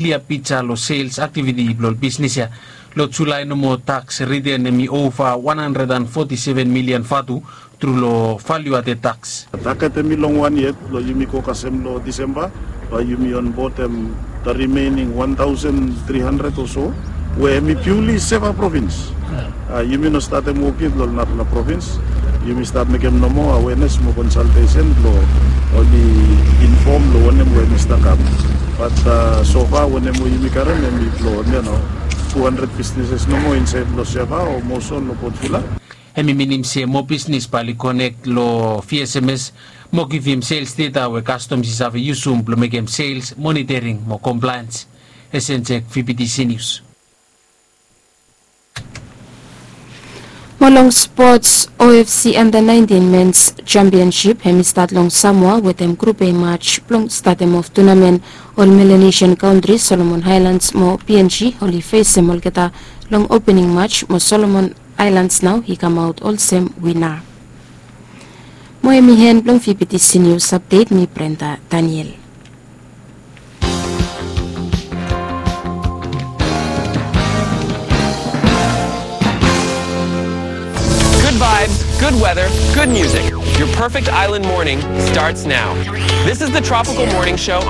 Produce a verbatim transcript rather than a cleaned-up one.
klia pija long sels aktiviti blong ol bisnis ya. Long Julae nomo taks riten hemi ova wan handred an foti seven milian vatu tru long valiu aded taks. Taget hemi long wan yet blong yumi go kasem long Disemba, bae yumi onbodem the remaining wan taosen tri handred o so we hemi piuli seva provins. Yumi no statem wok yet long narafala provins. Yumi stat mekem nomo awenes mo konsaltesen blong oli infom long wanem we hemi stap kam. Bat sofa wanem we yumi karem hemi blong, yu no, tu handred bisnises nomo insaed long Seva o Moson long Port Vila. Hemi minim se moa bisnis bae oli konek long VSMS mo givim sels deta we kastoms i save yusum blong mekem sels monitering mo komplaens. Esenjek, VBTC Nius. Mo long spots, OFC Under Nineteen Men's Championship hemi stat long Samoa wetem Grup A match blong statem of tunamen. Ol Melanesian kantri Solomon Aelands mo PNG oli fesem olgeta long opening match mo Solomon Aelands nao i kamaot olsem wina. Mo hemi en blong VBTC Nius Apdet, mi Brenda Daniel. Good vibes, good weather, good music. Your perfect island morning starts now. This is the Tropical Morning Show on